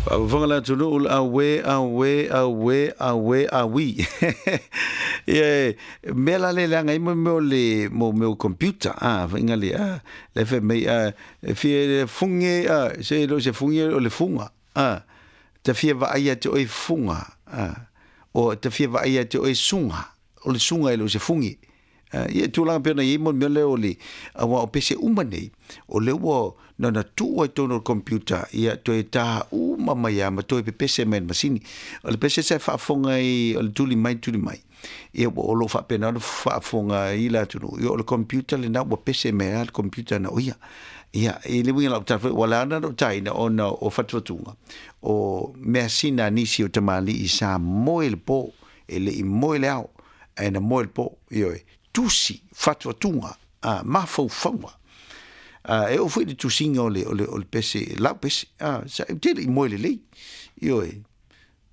Faafofoga le atunuu le auē, auē, auē, auē, auī. Ia, mea la le leaga ai mo mea o le mo mea o computer, a, faiga le, a, le fai mai, a, e fia fuge, a, se le o se fuge o le fuga, a, ta fia vaai ia te oe fuga, a, o ta fia vaai ia te oe suga, o le suga e le o se fuge. Ia tulaga pei ona i ai mo le mea lea o le aua o pese uma nei, o lea ua na ona tuu ai totonu o le computer, ia toe tā uma mai lava ma toe pepese mai e le masini. O le pese sa e faafofoga ai o le tuli mai tuli mai, ia o lo o faapena ona faafofoga ai le atunuu, ia o le computer lena ua pese mai lava le computer na o ia. Ia, i le uiga o lau tala foi, ua ala ona ou taina ona o fatufatuga, o measina a nisi o tamalii sa moe i le po, e le i moe le ao, ae na moe le po, ioe, tusi, fatufatuga, a, mafaufauga. A, e oo foi i le tusiga o le, o le, o le pese, lau pese, a, sa, ou te le i moe lelei, ioe,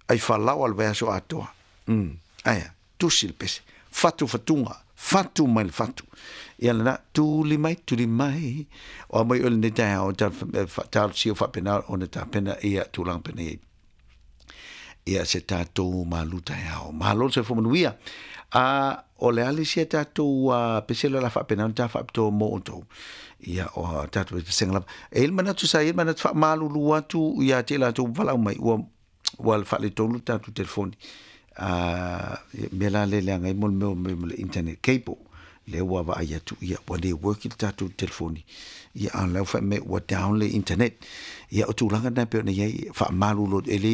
ai falaoa le vaiaso atoa. Ae a? Tusi le pese, fatufatuga, fatu mai le fatu. Ia lena, tuli mai, tuli mai. O a mai oe lenei taeao, talosia faapena ona tapena ia tulaga penei. Ia se tatou malu taeao. Malo le soifua manuia. A o le a le isi a tatou pese le la faapena ona ta faapitoa mo outou. Ia o tatou pesega lava. E i ai le manatu sa i ai le manatu faamalulu atu ia te i latou ua valaau mai ua ua faaletonu le tatou telefoni. A mea la le leaga ai mo le mea o le internet cable lea ua vaai atu ia ua le work le tatou telefoni ia a o la ua fai mai ua down le internet. Ia o tulaga na e pei ona i ai faamalulu e le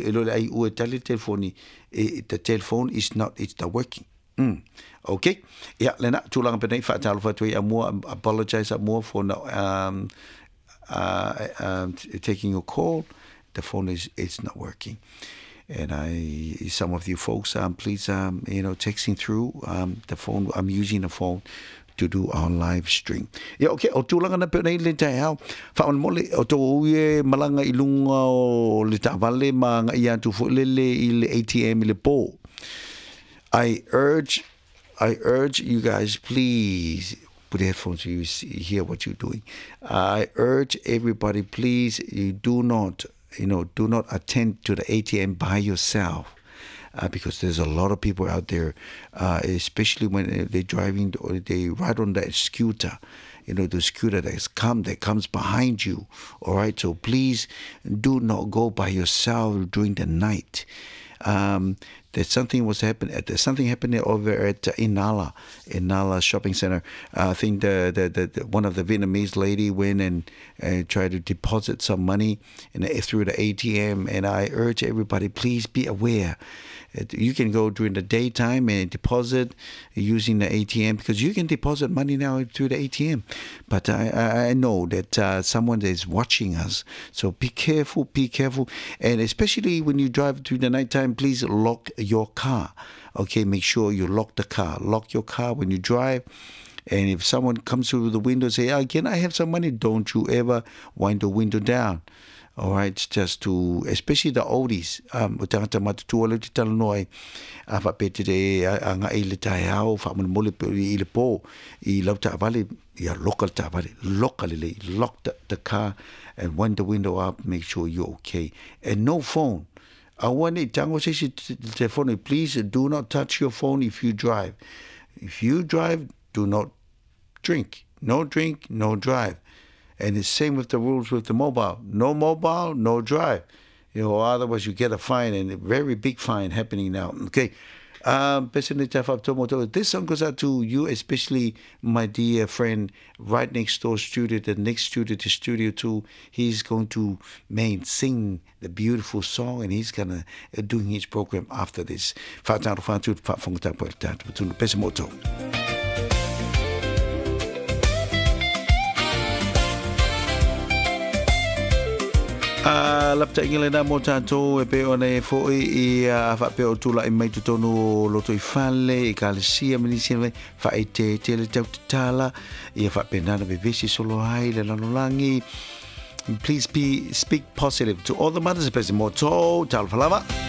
e le o le aiu e tali le telefoni the telephone is not it's not working. Okay. Ia lena tulaga penei faatalofa atu ai Amoa apologize Amoa for not taking your call. The phone is it's not working. And I some of you folks please you know texting through the phone I'm using the phone to do our live stream. Ia okay, o tulaga na pei ona i le taeao, faamolemole o tou ui e malaga i luga o le taavale ma agai atu foi lele i le ATM i le po. I urge I urge you guys please put headphones so you see, hear what you're doing. I urge everybody please you do not you know do not attend to the ATM by yourself. Because there's a lot of people out there, especially when they're driving or they ride on that scooter, you know, the scooter that's come that comes behind you. All right, so please do not go by yourself during the night. There's something was happening. There's something happening over at Inala, Inala Shopping Center. I think the, the, the, the one of the Vietnamese lady went and tried to deposit some money and through the ATM. And I urge everybody, please be aware. You can go during the daytime and deposit using the ATM, because you can deposit money now through the ATM. But I know that someone is watching us. So be careful, be careful. And especially when you drive through the nighttime, please lock your car. Okay, make sure you lock the car. Lock your car when you drive. And if someone comes through the window and say, oh, can I have some money? Don't you ever wind the window down. All right, just to, especially the oldies, o tagata matutua lea ou te talanoa ai, a faapea te le agai i le taeao, faamolemole i le po, i lau taavale, ia loka le taavale, loka lelei, lock the car and wind the window up, make sure you're okay. And no phone. Aua ne i tango se isi telefone, please do not touch your phone if you drive. If you drive, do not drink. No drink, no drive. And it's same with the rules with the mobile. No mobile, no drive. You know, otherwise you get a fine, and a very big fine happening now. Okay. This song goes out to you, especially my dear friend right next door studio, the next studio to Studio 2. He's going to main sing the beautiful song, and he's going to doing his program after this. A lapataʻiga lena mo tatou e pei ona e foʻi i a faapea o tulaʻi mai totonu o lotoifale i kalesia ma nisi mea faaeteete le tautatala ia faapena ona vevesi solo ai le lalolagi. Please be speak positive to all the mothers, pese mo tou, talofa lava.